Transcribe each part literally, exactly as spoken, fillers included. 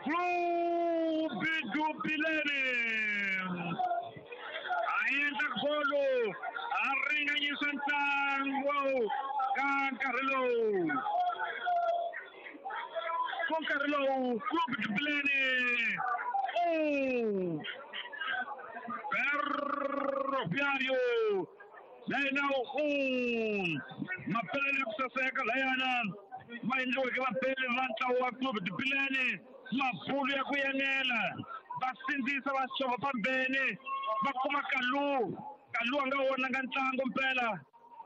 Clube do Bilene. A endla golo a ringanyisa ntlangu ka nkarhi lowu ku nkarhi lowu Clube do Bilene um Ferroviário nine um mapele ya ku saseka layana ma endliweke vapeli va ntlawa wa Clube do Bilene mabulu ya ku yenela va sindzisa va xova pambeni va kuma Kalu Kalu a nga vonanga ntlangu mpela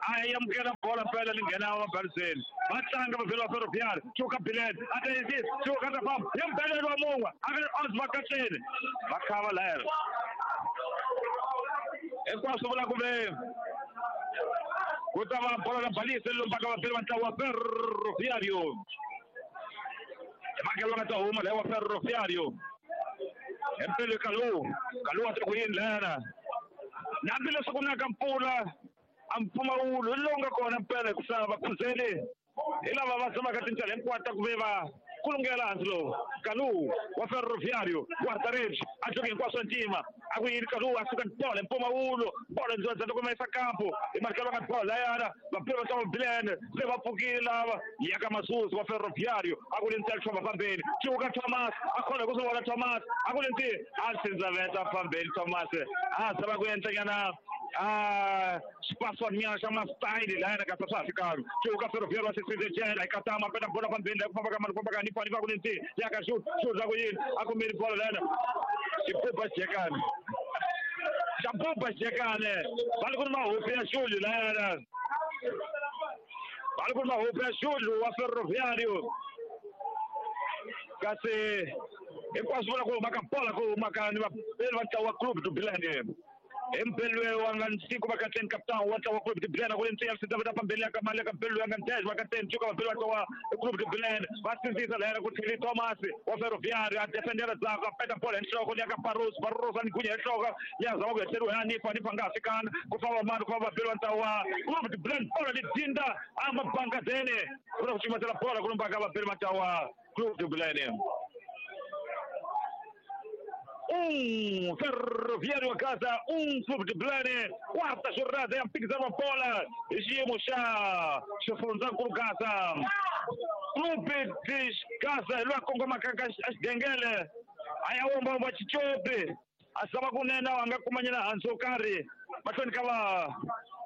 a yi amukela bola mpela li nghena mabaliseni va tlanga vavheli va Ferroviário Chuka Bilene a ta yisi Chuka ta famba ya mbelelo wa mun'we a vi odds va katleni va khava layana hinkwaswo vula ku ve ku ta va bola na balise lombaka vapeli va ntlawa wa Ferroviário makelo nga ta huma laha wa Ferroviário empele Kalu Kalu a ta ku yini layana na hambileswi ku naka mpfula a mpfumawulo hi lowu nga kona mpela ku sava vakhuzeli hi lava va tshamaka tindlela hinkwato ta ku ve va kulungela hansi lowu Kalu wa Ferroviário guarda-redes a joga hinkwaswo ntima a ku yini Kalu a suka bola mpfumawulo bola ndzodza loko ma yisa kampo hi marikelo nga bola layana vapeli va ntlawa Bilene se va pfukile lava ya ka Masusi wa Ferroviário a ku ri ntsena famba fambeni Chuka Thomas a khona ku swi vona Thomas a ku ri nti a sindzaveta fambeni Thomas a zama ku endlanyana a xipaswanyana xa mastayili layana kasi swa ha fikanga Chuka Ferroviário wa sisizejela ikatama peta bola fambeni la ku famba ka mani ku famba ka nipa nipa ku ri nti ya ka xu xu za ku yini a kumile bola layana xibuba xijekane xabuba xijekane va ri ku ri mahopi ya Xulu layana va ri ku ri mahopi ya Xulu wa Ferroviário kasi hinkwaswo vula ku huma ka bola ku huma ka ni vapeli va ntlawa wa Clube do Bilene empelwe wa nga nsiku va katleni kapitão wa ntlawa wa Clube do Bilene ku ri ntsiya sita pambeni ya ka mali ka mpelo ya nga dez va katleni cuka vapeli va ntlawa Clube do Bilene va sindzisa layana ku tlheli Thomas wa Ferroviário a defendera ndzhaku a peta bola hi nhloko ya ka Barros Barros a ni gunya hi nhloko ya zama ku hetleriwa hi Anifa Anifa nga ha fikanga ku famba mani ku famba vapeli va ntlawa wa Clube do Bilene bola li dinda a mabangazeni ku na ku cumatela bola ku lombaka vapeli va ntlawa wa Clube do Bilene. Um Ferroviário a casa, um Clube de Bilene, quarta jornada é a mphikizano wa bola hi xiyimo xa xifundzankulu Gaza. Clube de Gaza hi loyi a kongomaka ka xigengele a ya womba Chicopi a zama kunene a nga kumanyana hansi wo karhi mahlweni ka va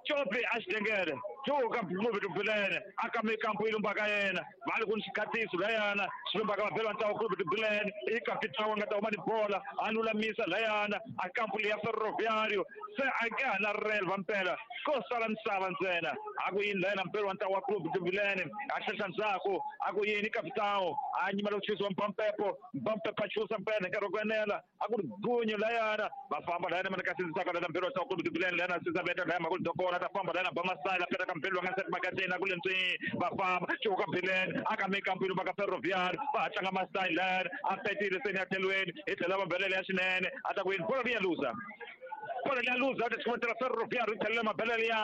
Chopi a xigengele Chuka Clube do Bilene a ka mikampo yi lombaka yena va ri ku ni xikhatiso layana xi lombaka vapeli va ntlawa Clube do Bilene i kapitão a nga ta huma ni bola a lulamisa layana a kampo leya Ferroviário se a nge ha na relva mpela ko sala misava ntsena a ku yini layana mpela wa ntlawa wa Clube do Bilene a hlehla ndzhaku a ku yini kapitão a nyimela ku chusiwa mpampepo mpampepo a chusa mpela hi nkarhi wa ku enela a ku ri gunyu layana va famba layana mana ka sindzisaka layana mpela wa ntlawa Clube do Bilene layana sindzaveta laya mhaka dokona ta famba layana ba masala peta ka mpelo wa nga seti makateni a ku le ntswi va famba Chuka Bilene a ka mikampo yi lombaka Ferroviário va ha tlanga masayili layana a petile seni ya tlhelweni hi tlhela mabelele ya xinene a ta ku yini bola liya luza bola liya luza a ta chumatela Ferroviário yi tlhelela mabelele ya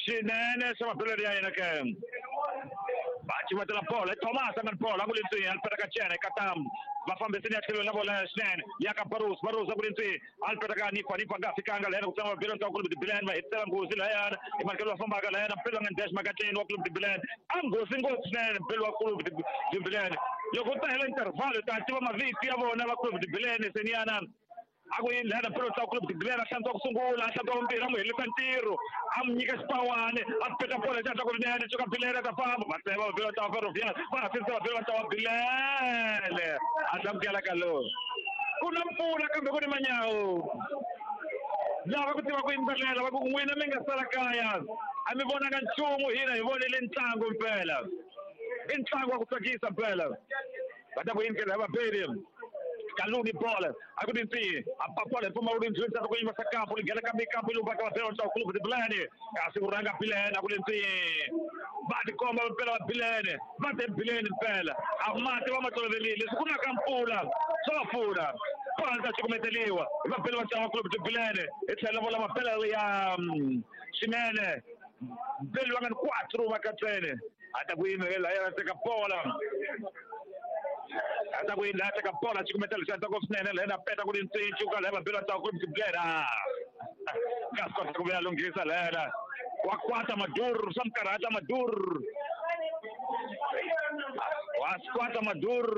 xinene xa mabelele ya yena ke va chumatela bola Thomas a nga ni bola a ku le ntswi a peta ka cene katamu va fambiseni ya tlhelweni na bola ya xinene ya ka Barros Barros a ku ri ntswi a li peta ka Nifa Nifa nga fikanga layana ku tlanga vapeli va ntlawa Clube do Bilene va hetisela nghozi layana i marikelo va fambaka layana mpelo nga dash makatleni wa Clube do Bilene a nghozi ngopfu swinene mpelo wa Clube do Bilene loko u ta hela intervalo ta tiva mavito ya vona va Clube do Bilene seniyana a ku yini layana mpelo ntlawa Clube do Bilene a hlantswa ku sungula a hlantswa vumbirhi a n'wi helisa ntirho a n'wi nyika xipawani a peta bola xi hatla ku rinene Chuka Bilene a ta famba va tsema vapeli va ntlawa Ferroviário va ha sindzisa vapeli va ntlawa Bilene a hlamukela ka lowu ku na mpfula kambe ku ni manyawu lava ku tiva ku yimbelela va ku n'wina mi nga sala kaya a mi vonanga nchumu hina hi vonile ntlangu mpela i ntlangu wa ku tsakisa mpela va ta ku yini ke lava vapeli Kaluni bola a ku ri ntiyi a papola mpfumawulo ndzweni ta ku yima sa kampo li nghena ka mikampo yi lombaka vapeli va ntlawa Clube do Bilene kasi ku rhanga Bilene a ku ri ntiyi va tikomba mpela va Bilene va te Bilene mpela a mati va ma tolovelile leswi ku na ka mpfula swa va pfuna bola ta cukumeteliwa hi vapeli va ntlawa Clube do Bilene hi tlhela vola mapela ya xinene mpeli va nga ni quatro va katsene a ta ku yimela yena teka bola a karhata ku yini laha teka bola xikumeta lexi antswaka swinene lena peta ku ri ntsintsi ka laha vabeli va ntlawa ku ri nga swi kota ku vuya lunghisa lena wa kwata Madur swa mi karhata Madur wa swi kwata Madur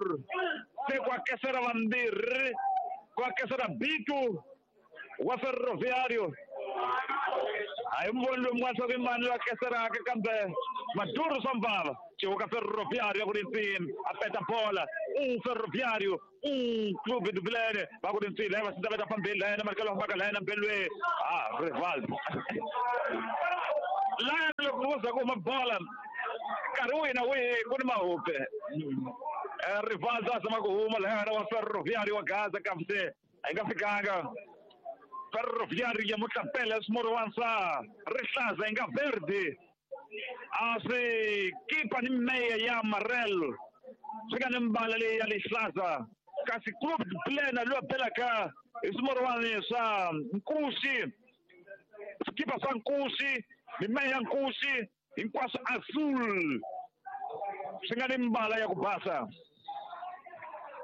se kwa kesera vambirhi kwa kesera Bitu wa Ferroviário a hi muvoni loyi mun'wana swa ku i mani loyi a keseraka kambe Maduro swa mvava Chihuka Ferroviário ku ri ntsini a peta bola um Ferroviário um Clube do Bilene va ku ri ntsini laya va sindza veta phambili laya na marikelo fambaka laya na mbelwe ah Rivaldo laya loko ku za ku huma bola nkarhi wihi na wihi ku ni mahupe Rivaldo a zama ku huma laya wa Ferroviário wa Gaza kambe se a yi nga fikanga Ferroviário ya Mutlapele swimorwana swa rihlaza yi nga verde a swi kipa ni meya ya amarelo swi nga ni mbala leyi ya lihlaza kasi Clube de Plena loyi a belaka hi swimorwani swa nkuxi swikipa swa nkuxi mimeya ya nkuxi hinkwaswo azul swi nga ni mbala ya ku basa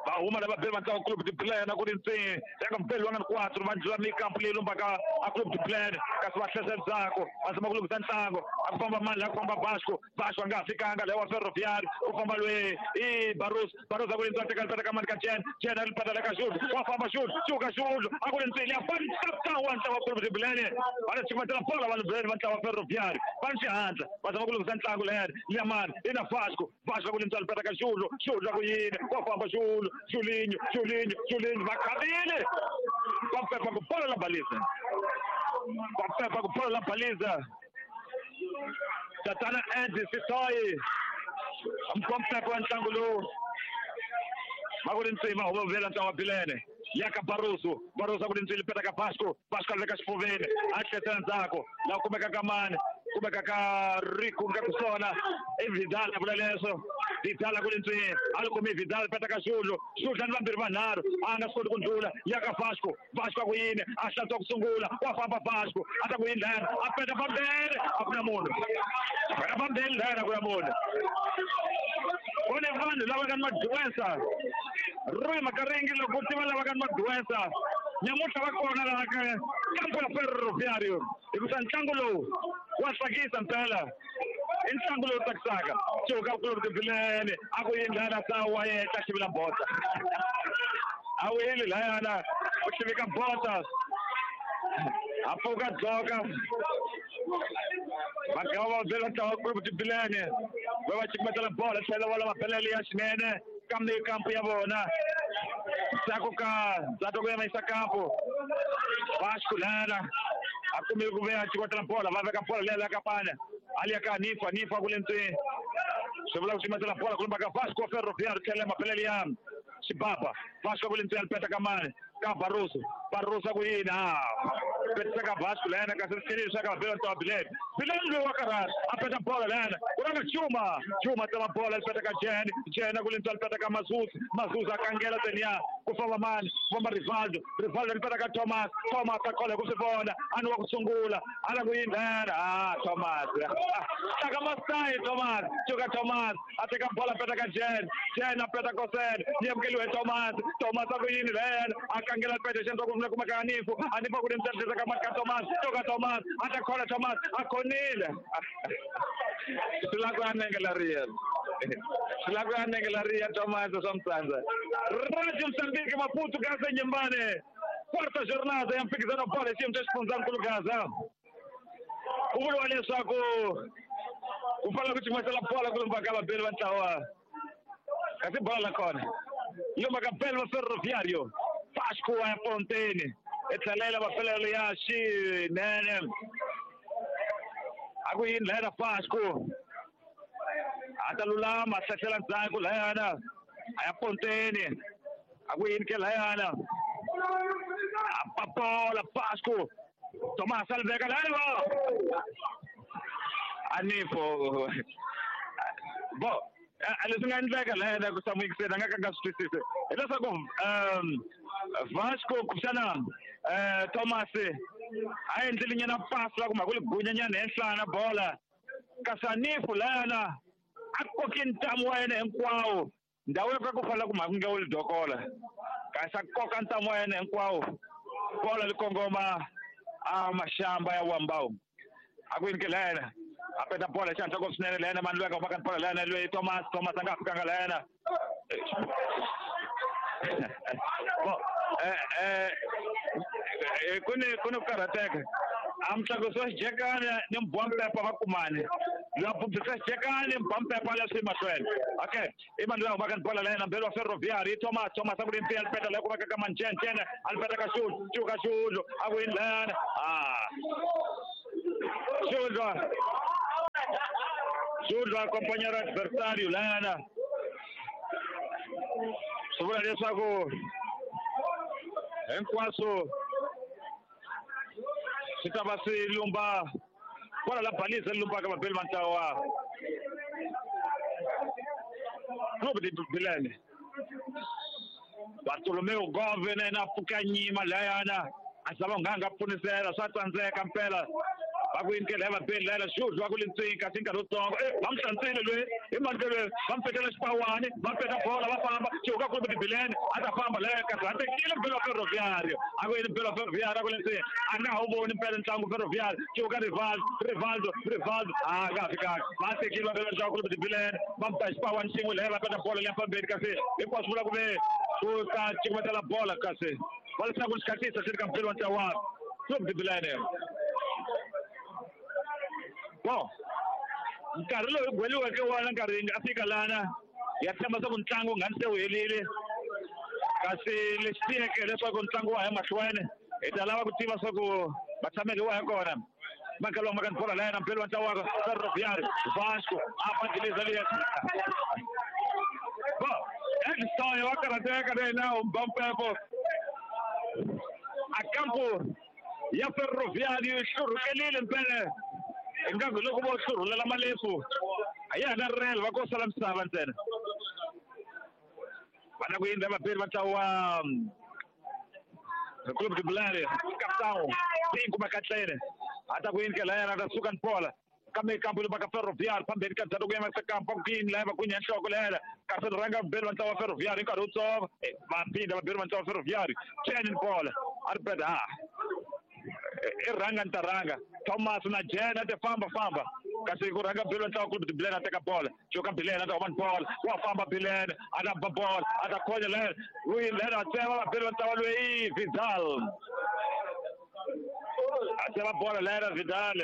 va huma lava beli va ntlawa Clube de Plena ku ri ntsini ya ka mubeli wa nga ni quatro va ndlula mikampu leyi lombaka a Clube de Plena kasi va hlesa ndzhaku va zama ku lunghisa ntlangu a ku famba mani laha ku famba Vasco Vasco a nga ha fikanga laha wa Ferroviário ku famba loyi i Barros Barros a ku ri ntsini a teka ripeta ka mani ka Jen Jen a ripeta la ka Xulu wa famba Xulu Xuka Xulu a ku ri ntsini ya famba wa ntlawa Clube de Plena va ri ximatela bola vanhu Bilene va ntlawa Ferroviário va ni xihatla va zama ku lunghisa ntlangu leri Liamani i na Vasco Vasco a ku ri ntsini a ripeta ka Xulu Xulu a ku yini wa famba Xulu Julinho, Julinho, Julinho, va khabile va pepa ku bola la baliza va pepa ku bola la baliza tatana Andy Sitoyi mkompepo wa ntlangu lowu va ku ri ntsima huma vela ntlangu wa Bilene ya ka Barroso Barroso a ku ri ntsini peta ka Vasco Vasco a veka xifuveni a tlhesela ndzhaku laha kumeka ka mani kumeka ka Rico nga kusona i Vidal a vula leswo Vidal a ku ri ntsini a li kumi Vidal peta ka Xulu Xulu ni vambirhi vanharhu a nga swi koti ku ndlula ya ka Vasco Vasco a ku yini a hlantswa ku sungula wa famba Vasco a ta ku yini lana a peta fambele a ku na munhu peta fambele lana a ku na munhu ku ni vanhu lava nga ni maduensa Rui Makaringi loko ku tiva lava nga ni maduensa nyamuntlha va kona laha ka kampu ya Ferroviário hikusa ntlangu lowu wa tsakisa mpela i ntlangu lowu tsakisaka Chihuka Clube de Bilene a ku yini lana sawa yehla xivila bota a wu yini layana u xivika bota a pfuka dzoka va gava va bela ntlawa Clube de Bilene va va xikimetela bola tlhela va lava belele ya xinene kambe kampu ya vona ndzhaku ka ndzhaku ku yima yisa kampu Vasco lana a kumile ku veya xikotela bola va veka bola leya la ka pana ali ya ka Nifa Nifa ku le ntsini swi vula ku ximetela bola ku lumba ka Vasco Ferroviário tlhela mapelele ya Xibaba Vasco ku le ntsini a peta ka mani ka Barroso Barroso a ku yini a petisa ka Vasco lena kasi tlheleli swa ka vabeli ntlawa Bilene Bilene loyi wa karhata a peta bola lena ku ranga Juma Juma tsema bola li peta ka Jen Jen a ku le ntsini a peta ka Mazuzi Mazuzi a kangela teniya ku famba mani ku famba Rivaldo Rivaldo li peta ka Thomas Thomas a khola ku swi vona a ni wa ku sungula a la ku yini lena ah Thomas tlaka mastayi Thomas Cuka Thomas a teka bola a peta ka Jen Jen a peta Kosen yi amukeliwe Thomas Thomas a ku yini lena a kangela peta xi endla ku kumeka Anifu Anifu a ku ri ntsena ka mati ka Thomas Cuka Thomas a ta khola Thomas a khonile swi lava ku ya nenge leriya swi lava ku ya nenge leriya Thomas swa mtsandza Radio Mozambique Maputo Gaza nyumbani quarta jornada ya mphikizano wa bola xiyimo xa xifundzankulu Gaza ku vuriwa leswaku ku fanele ku cimatela bola ku lumba ka vabeli va ntlawa kasi bola la kona lumba ka beli va Ferroviário Vasco wa ya Ponteni e tlhelela mapelelo ya xinene a ku yini layana Vasco a ta lulama a hlahlela ndzhaku layana a ya Ponteni a ku yini ke layana a papola Vasco Thomas a li veka layana Anifo bo leswi nga endleka layana ku samuyikiseni a nga ka nga swi twisisi hileswaku um Vasco kumbexana um Thomas a endlile nyana pasi la ku mhaka ku li gunyanyana henhlana bola kasi Anifu layana a koki ntamu wa yena hinkwawo Ndhawu yo ka ku fanele ku mhaka nge wu dokola kasi a koka ntamu wa yena hinkwawo bola li kongoma a maxamba ya Wambawu a ku yini ke lena a peta bola hi xihatla ngopfu swinene lena mani loyi a nga humaka ni bola lena loyi Thomas Thomas a nga ha fikanga lena eh eh ku ni ku ni ku karhateka a mutlangusi wa xijekani ni mbompepa va kumani loyi a bubisa xijekani mbompepa leswi mahlweni okay i mani loyi a humaka ni bola lena mbeli wa Ferroviário i Thomas Thomas a ku ri mpfi alipeta leyi ku veka ka Manjenjene alipeta ka Xulu Cuka Xulu a ku yini lena ah Xulu Xulu companheiro adversário lena swi vula leswaku hinkwaswo swi ta va swi lumba kwala la balisa li lumbaka vabeli va ntlawa wa Clube de Bilene Bartolomeu Gove na yena a pfuka nyima layana a zama nga nga pfunisela swa tsandzeka mpela va ku yini ke laya vabeli layana Xulu va ku li ntswini kasi nkarhi wutsongo e va mu hlantswile loyi hi mani ke loyi va mu petela xipawani va peta bola va famba Cuka Clube de Bilene a ta famba laya kasi a tekile mbeli wa Ferroviário a ku yini mbeli wa Ferroviário a ku li ntswini a nga ha wu voni mpela ntlangu Ferroviário Cuka Rivaldo Rivaldo Rivaldo a nga ha fikanga va tekile va mbeli wa ntlangu Clube de Bilene va mu ba xipawani xin'we laya va peta bola liya fambeni kasi hinkwaswo vula ku ve ku ta cukumetela bola kasi va leswaku xikhatlisa xi ri ka mbeli wa ntlangu wa Clube de Bilene. Bom, nkarhi lowu gweliweke wona nkarhi nga fika lana ya tshemba swa ku ntlangu wu nga ni se wu herile kasi lexi tiyeke leswaku ntlangu wa ha mahlweni hi ta lava ku tiva swa ku vatshameli wa ha kona makalo wa makani bola layena mbeli wa ntlangu wa Ferroviário Vasco a pandiliza liya bo Edson wa karhateka na yena u ba mpepo a kampo ya Ferroviário yi hlurhukelile mpele ingaku loko vo hlurhulela malefu a ya ha na rel va ko sala misava ntsena va na ku yindza vabeli va ntlawa wa Clube de Bilene capitão cinco makatlene a ta ku yini ke layana ta suka ni bola kambe kampo leyi va ka Ferroviário phambeni ka ndzhaku ku yima kampo ku yini laya va ku nya nhloko layana kasi ri rhanga vabeli va ntlawa wa Ferroviário hi nkarhi wutsongo va phinda vabeli va ntlawa wa Ferroviário cheni ni bola a ri peta ha i rhanga ni ta rhanga Thomas na Jena ti famba famba kasi ku rhanga Bilene ntlawa Clube de Bilene a teka bola Cuka Bilene a ta huma ni bola wa famba Bilene a ta ba bola a ta khonya lena loyi lena a tsema va Bilene ntlawa loyi Vidal a tsema bola lena Vidal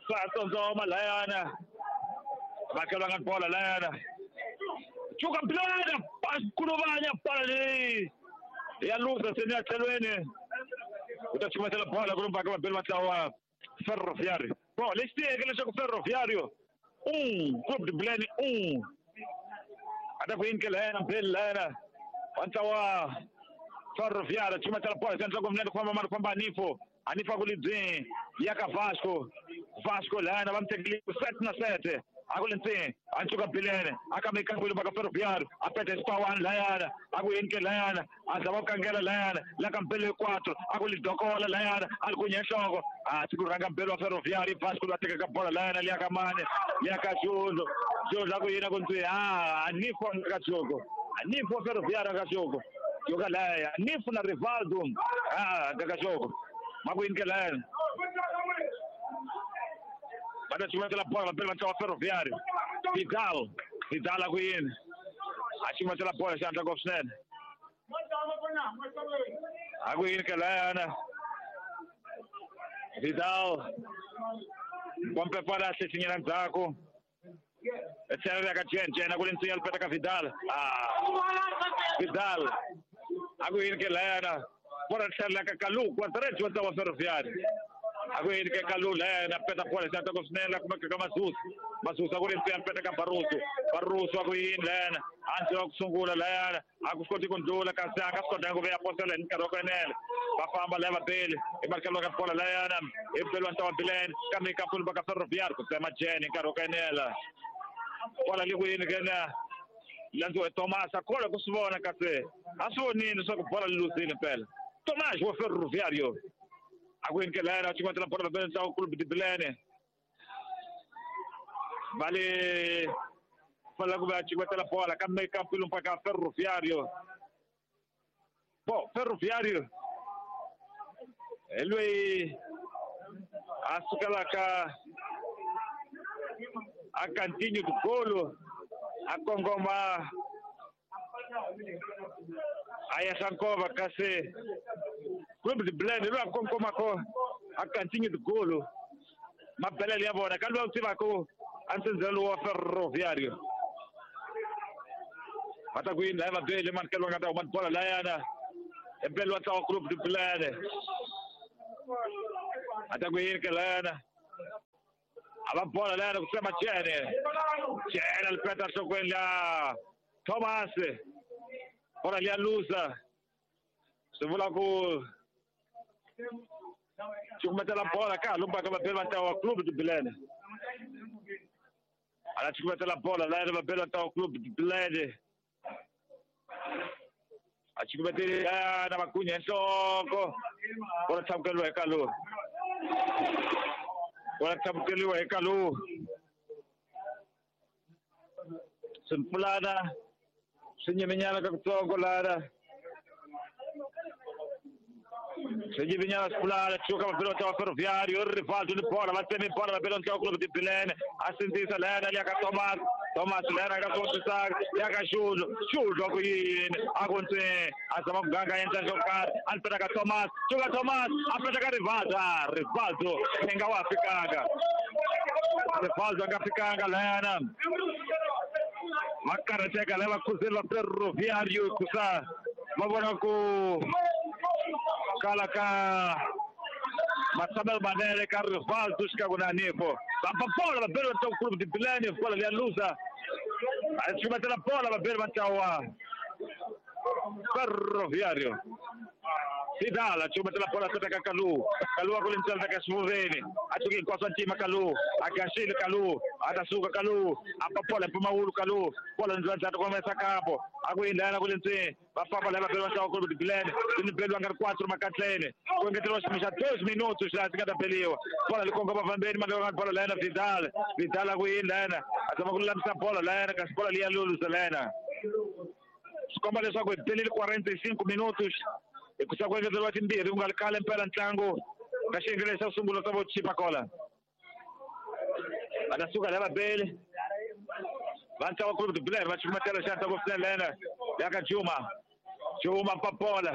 swa tsotsoma layana makhelwa nga ni bola layana Cuka Bilene kuluvanya bola leyi ya luza seni ya tlhelweni u ta cukumetela bola ku lumbaka vabeli va ntlawa wa Ferroviário. Bom, lexi tiyeke leswaku Ferroviário um Clube de Bilene um a ta ku yini ke lena mbeli lena wa ntlawa Ferroviário cukumetela bola xi endla ku minete ku famba mani ku famba Anifo Anifo a ku libyi ya ka Vasco Vasco lena va mu tekile sete na sete a ku li ntsini a ncuka Bilene a kambe kambe lumbaka Ferroviário a peta xipawani layana a ku yini ke layana a zama ku kangela layana la ka mbele quatro a ku li dokola layana a li ku nya nhloko a siku rhanga mbele wa Ferroviário Vasco loyi a tekaka bola layana liya ka mane liya ka Xulu Xulu a ku yini a ku ndzi a Anifo ka Xuku Anifo Ferroviário ka Xuku yoka laya Anifo na Rivaldo a ka Xuku ma ku yini ke layana va ta cukumetela bola vabeli va ntlawa wa Ferroviário Vidal Vidal a ku yini a cukumetela bola xihatla ngopfu swinene a ku yini ke layana Vidal pompepala a hlehlinyela ndzhaku tlhela ri ya ka Jen Jen a ku li ntsinya li peta ka Vidal ah Vidal a ku yini ke layana bola ri tlhela ka Kalu Quadrate wa ntlawa wa Ferroviário a ku yini ke Kalu layana peta bola xihatla ngopfu swinene la kumeka ka Masusa Masusa ku ri ntsinya li peta ka Barroso Barroso a ku yini layana a ndzi wa ku sungula layana a ku swi koti ku ndlula kasi a nga swi kotanga ku vuya posela hi nkarhi wa ku enela va famba laya vabeli hi marikelo ka bola layana hi beli wa ntlawa wa Bilene kambe ka pfuli va ka Ferroviário ku tsema Jen hi nkarhi wa ku enela bola le ku yini ke na landziwa hi Thomas a kholwa ku swi vona kasi a swi vonile leswaku bola li luzile mpela Thomas wa Ferroviário a ku yini ke layana a cukumetela bola vabeli ntlawa Clube de Bilene va le fanele ku va cukumetela bola kambe ka mpfilumpa ka Ferroviário. Bo Ferroviário hi loyi a sukelaka a Cantinho do Golo a kongoma a ya Sankova kasi Clube de Belém loyi a kongomako a Cantinho do Golo mabelele ya vona ka loyi u tivaka a ntsendzelo wa Ferroviário va ta ku yini laya vabeli mani ka loyi a nga ta huma bola layana empeleni wa ntlawa Clube de Belém a ta ku yini ke layana a va bola layana ku tsema Jene Jene a lipeta nhlokweni la Thomas bola liya lusa swi vula ku cukumetela bola ka ha lumbaka vabeli va ntlawa wa Clube de Belém a la cukumetela bola layana vabeli va ntlawa wa Clube de Belém a cukumeteli na magunya nhloko bola tlhamukeliwa hi Kalu bola tlhamukeliwa hi Kalu swimpfulana swi nyiminyana ka kutsongo lana swi nyiminyana swimpfulana cuka vabeli va ntlawa Ferroviário Rivaldo ni bola va tsemi bola vabeli va ntlawa Clube de Belém a sindzisa layana liya ka Thomas Thomas layana ka Sosisaka ya ka Xulu Xulu a ku yini a ku ntse a zama ku ganga endla xo karhi a ni peta ka Thomas cuka Thomas a peta ka Rivaldo a Rivaldo i nga wa fikanga Rivaldo a nga fikanga layana va karhateka lava khuzeli va Ferroviário hikusa va vona ku kala ka matshamelo manene ka Rivaldo xikan'we na Nifo va ba bola vabeli va ntlawa Clube de Belém bola liya lusa a cukumetela bola vabeli va ntlawa Ferroviário Vidal a cukumetela bola seta ka Kalu Kalu a ku lintsela ka xivuveni a cuki hinkwaswo ntima Kalu a gaxile Kalu a ta suka Kalu a pa bola mpumawulu Kalu bola ndzandzata komesa kampo a ku yindlana ku lintsini va famba lava beliwa ntlawa Clube de Belém ni beliwa nga ri quatro makatleni ku engeteriwa xiyimo xa dois minutos laha swi nga ta beliwa bola li kongoma fambeni mandlaka bola layena Vidal Vidal a ku yindlana a zama ku lulamisa bola layena kasi bola liya lulusa layena swi komba leswaku hi belile quarenta e cinco minutos hikusa ku engeteriwa timbirhi ku nga ri khale mpela ntlangu ka xiyenge lexi xa sungula xa vo Chipa Cola va ta suka lava beli va ntlawa Clube de Belém va cukumetela xandla ku swinene layena ya ka Juma Juma pa bola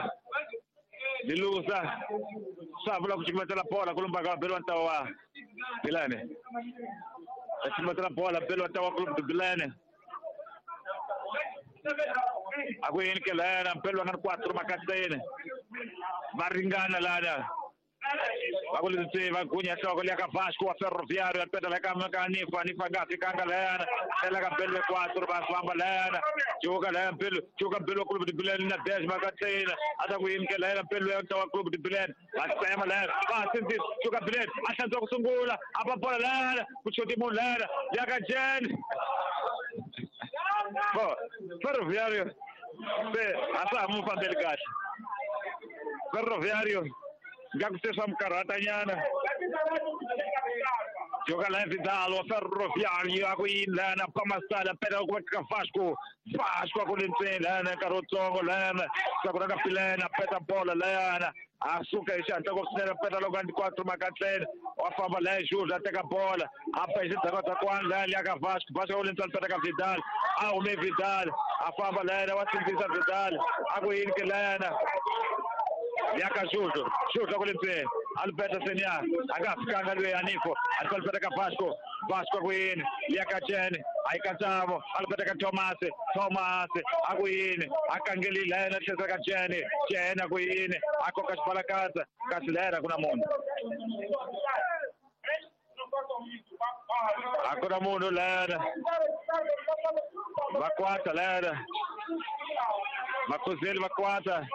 lilusa swa vula ku cukumetela bola ku lumbaka vabeli va ntlawa wa Belém va cukumetela bola beli va ntlawa Clube de Belém a ku yini ke layana mpelo va nga ri quatro makatseni va ringana lana va ku leswi va gunya nhloko liya ka Vasco wa Ferroviário a peta la ka ka Nifa Nifa nga fikanga layana ela ka mpelo quatro va famba layana cuka laya mpelo cuka mpelo wa Clube de Belém na dez makatseni a ta ku yini ke layana mpelo ya ntlawa Clube de Belém va tsema layana va sindzisa cuka Belém a hlantswa ku sungula a pa bola layana ku choti munhu layana ya ka Jen Bo, Ferroviário se a swa ha mu fambeli kahle Ferroviário nga ku se swa mu karhatanyana joka la Vidal wa Ferroviário a ku yini lana pamasala pela ku va ka Vasco Vasco a ku le ntseni lana nkarhi wutsongo lana swa ku na ka Pilena peta bola layana a suka hi xihatla ku swinene peta loko a ndi quatro makatleni wa famba laya Jules a teka bola a pa hi xidzakwadzakwani laya liya ka Vasco Vasco a ku le ntseni peta ka Vidal a hume Vidal a famba layana wa sindzisa Vidal a ku yini ke layana ya ka Jules Jules a ku le ntseni Alberto Senia a nga fikanga loyi Anifo a Alberto ka Vasco Vasco a ku yini ya ka Jene a yi katsavo Alberto ka Thomas Thomas a ku yini a kangeli layena tlhesa ka Jene Jene a ku yini a koka xibalakatsa kasi layena ku na munhu a ku na munhu layena va kwata layena vakhuzeli va kwata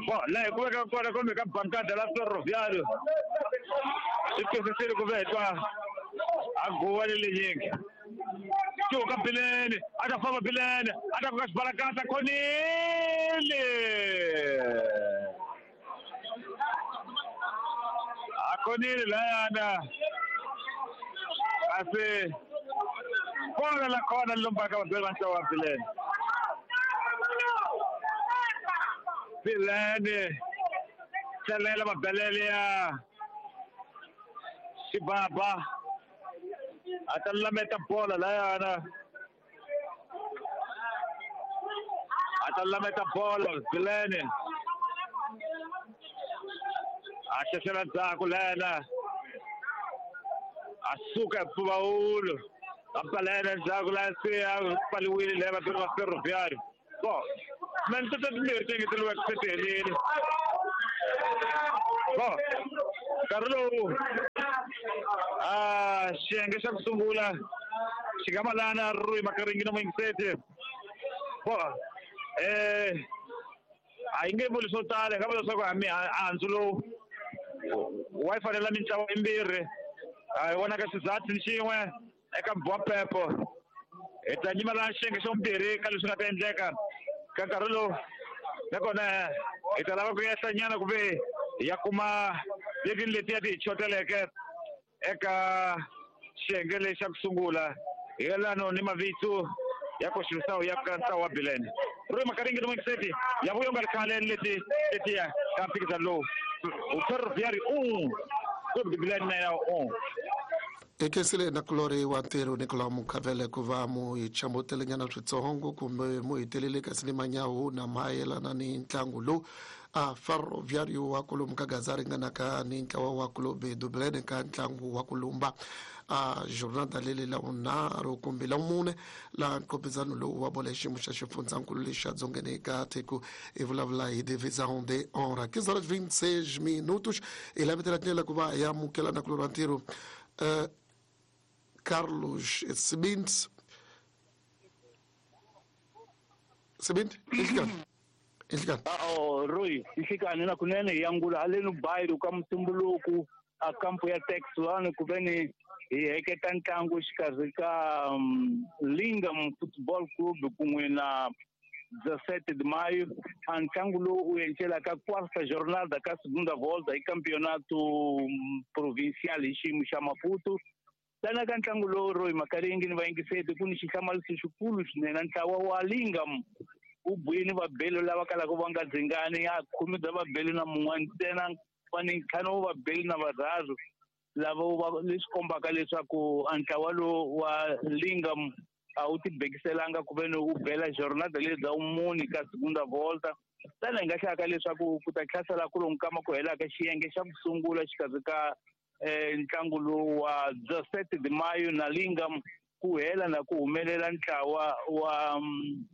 Bo, laha hi ku veka kona kumbe ka bankada la Ferroviário swi twisisile ku ve hi twa a guwa le lenyingi cuka Bilene a ta famba Bilene a ta koka xibalakatsa khonile a khonile layana kasi Kona la kona lombaka vabeli va ntlawa wa Bilene. Bilene tselela mabelele ya Xibaba a ta lameta bola layana a ta lameta bola Bilene a xexela ndzhaku lena a suka hi mpfumawulo a balena ndzhaku laha se a pfaliwile leya vabeli va Ferroviário. Bo mintoto timbirhi ti engeteriweke se ti helile. Bo nkarhi lowu a xiyenge xa ku sungula xi nga malana Rui Makaringi na muyingiseti. Bo eh a yi nge vuli swo tala hi nga vula leswaku mihandzu lowu wa yi fanela mintlawa yimbirhi a hi vonaka xizathu ni xin'we eka Mbwapepo. Hi ta nyima laha xiyenge xa vumbirhi ka leswi nga ta endleka ka nkarhi lowu nakona hi ta lava ku yehla nyana ku ve hi ya kuma leti ni letiya ti hi choteleke eka xiyenge lexi xa ku sungula hi yelano ni mavito ya koxisawu ya ka ntlawa wa Bilene. Rui Makaringi ni muyingiseti ya vuya u nga ri khale leti letiya ka mphikizano lowu Ferroviário um Clube de Bilene na ya um. Hi khensile nakulorhi wa ntirho Nicolau Mukhavele ku va mu hi chambutelenyana switsongo kumbe mu hi telele kasi ni manyawu na mayelana ni ntlangu lowu a Ferroviário wa kwalomu ka Gaza ringanaka ni ntlawa wa Clube do Bilene ka ntlangu wa ku lumba a jornada leli la vunharhu kumbe la mune la nqopizano lowu wa bola xiyimo xa xifundzankulu lexi xa dzongeni ka tiko hi vulavula hi divisão de honra. quinze horas vinte e seis minutos hi lavetela tindlela ku va hi amukela nakulorhi wa ntirho uh, Carlos Sibint. Sibint, inhlikani. Inhlikani. Oh, Rui, inhlikani na kunene yangula haleni bayiru ka mutumbuluku a kampo ya Tex one ku veni hi heketa ntlangu xikarhi ka um, Lingam Football Club kun'we na dezessete de maio. A ntlangu lowu u encela ka quarta jornada ka segunda volta hi campeonato provincial hi xiyimo xa Maputo. Tana ka ntlangu lowu Rui Makaringi ni vayingiseti ku ni xihlamariso xikulu swinene. Ntlawa wa Lingam wu bwini vabeli lava kalaka va nga dzingani a khume bya vabeli na mun'we ntsena va ni ntlhanu wa vabeli na varharhu lava va leswi kombaka leswaku a ntlawa lowu wa Lingam a wu tibekiselanga ku ve ni wu bela jornada leyi bya mune ka segunda volta. Tana hi nga hlaya leswaku ku ta hlasela ku lomu kama ku helaka xiyenge xa ku sungula xikarhi ka eh, ntlangu lowu wa dezessete de maio na Lingam ku hela na ku humelela ntlawa wa um,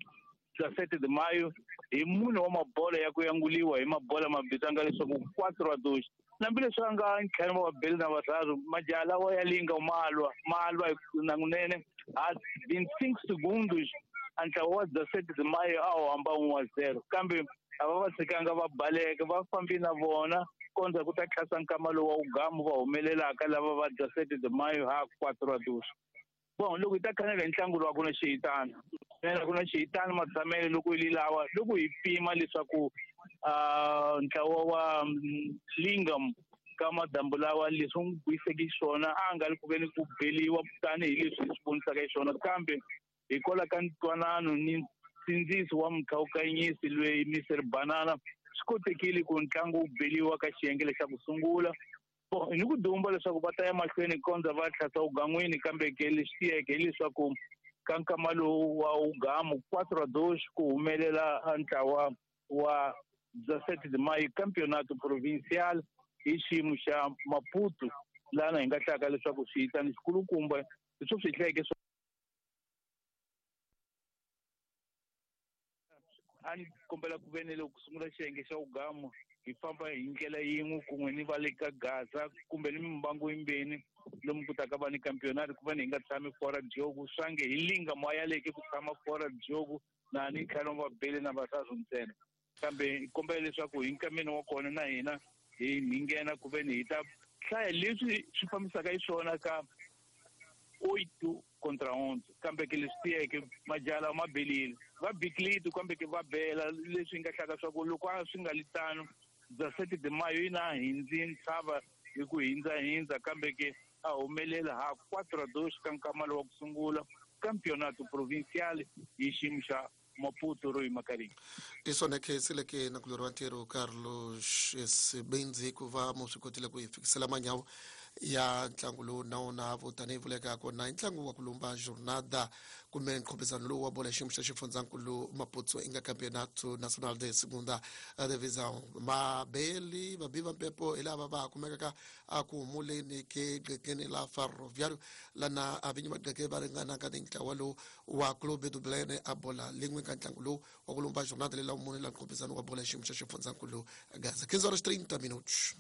dezessete de maio hi mune wa mabola ya ku yanguliwa hi mabola mabitanga leswaku quatro a dois. Hambileswi a nga ntlhanu wa vabeli na varharhu majaha lawa ya Lingam ma lwa ma lwa nakunene a vinte e cinco segundos a ntlawa wa dezessete de maio a wu hamba un wa zero kambe a va va tshikanga va baleka va fambi na vona kondza ku ta tlhasa nkama lowu wa wugamu va humelelaka lava va dezessete de maio ha quatro a dois. Bon, loko hi ta khanela hi ntlangu lowu a ku na xihitana a ku na xihitana matshamele loko hi lawa loko hi pima leswaku uh, ntlawa wa Lingam ka madambu lawa leswi n'wi buyiseke xiswona a nga ri ku veni ku beliwa tanihileswi hi swi vonisaka xiswona kambe hikwalaho ka ntwanano ni nsindziso wa mukhawukanyisi loyi Mister Banana swi kotekile ku ntlangu wu beliwa ka xiyenge lexa ku sungula. Bon, ni ku dumba leswaku va ta ya mahlweni kondza va tlhasa wugan'wini kambe ke lexi tiyeke hileswaku ka nkama lowu wa wugamu quatro a dois ku humelela ntlawa wa dezessete de maio campeonato provincial hi xiyimo xa Maputo lana hi nga hlaka leswaku swihitani xikulukumba leswi swi hlayeke a ni kombela ku ve ni loko ku sungula xiyenge xa wugamu hi famba hi ndlela yin'we kun'we ni va le ka Gaza kumbe ni mimbangu yimbeni lomu ku taka va ni campeonato ku va ni hi nga tshami fora jogu swange hi Lingam a yaleke ku tshama fora jogu na ni ntlhanu wa vabeli na varharhu ntsena kambe hi kombela leswaku hi nkameni wa kona na hina hi hi nghena ku ve ni hi ta hlaya leswi swi fambisaka xiswona ka oito contra onze kambe ke leswi tiyeke majaha lawa ma belile va bikiliti kambe ke va bela leswi nga hlaka swa ku loko a swi nga li tano dezessete de maio yi na hindzi ntshava hi ku hindzahindza kambe ke a humelela ha quatro a dois ka nkama lowu wa ku sungula Campeonato Provincial hi xiyimo xa Maputo Rui Makaringa. I swona khensileke na kulori wa ntirho Carlos Sibindzi ku va mu swi kotile ku hi fikisela manyawu ya ntlangu lowu na wona vo tanihi vuleka kona i ntlangu wa ku lumba jornada kumbe nkhopizano lowu wa bolo ya xiyimo xa xifundzankulu Maputo inga Campeonato Nacional de Segunda Divisão. Mabeli vabi va mpepo hi lava va kumekaka a ku humuleni ke qekeni la Ferroviário lana a vinyi va qeke va ringanaka ni ntlawa lowu wa Clube do Belém a bola lin'we ka ntlangu lowu wa ku lumba jornada leyi la mune la nkhopizano wa bolo ya xiyimo xa xifundzankulu Gaza. quinze horas trinta minutos.